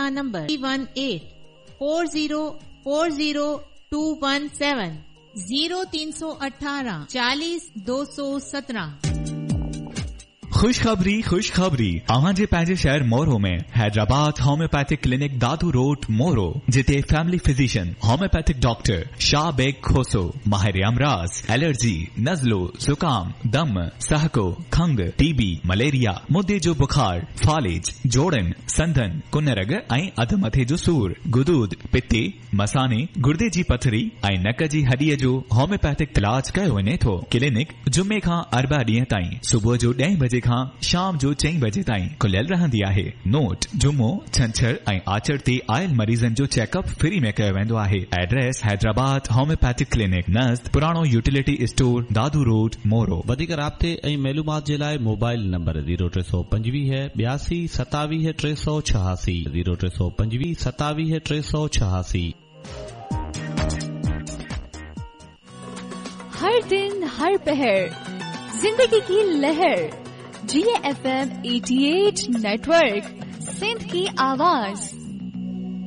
رابطا number 1 8 4 0 4 0 2 1 7 0318 40 217. خوشخبري خوشخبري اوهان جي پنهنجي شهر Moro ۾ Hyderabad homeopathic clinic Dadu road Moro جتي family physician homeopathic doctor Shah Beg Khoso ماهر امراض الرجي نزلو زڪام دم سهڪو کنگهه ٽي بي مليريا مدي جو بخار فالج جوڙن سنڌن ڪن رڳ ۽ اڌ مٿي جو سور غدود پتي مثاني، گردي جي پٿري ۽ نڪ جي هڏيء جو هوميوپيٿڪ علاج ڪيو وڃي ٿو. ڪلينڪ جمعي کان اربع ڏينهن تائين صبح جو ڏهين بجي کان شام جو چئين بجي تائين کليل رهندي آهي. نوٽ، جمعو، ڇنڇر ۽ آچر تي آيل مريضن جو چيڪ اپ فري ۾ ڪيو ويندو آهي. ايڊريس، حيدرآباد هوميوپيٿڪ ڪلينڪ نزد پراڻو utility store, Dadu road, Moro. وڌيڪ رابطي ۽ معلومات جي لاء موبائل نمبر زيرو 325 82 27 386 زيرو 325 27 386. हर दिन हर पहर जिंदगी की लहर जी एफ एम 88 नेटवर्क सिंध की आवाज।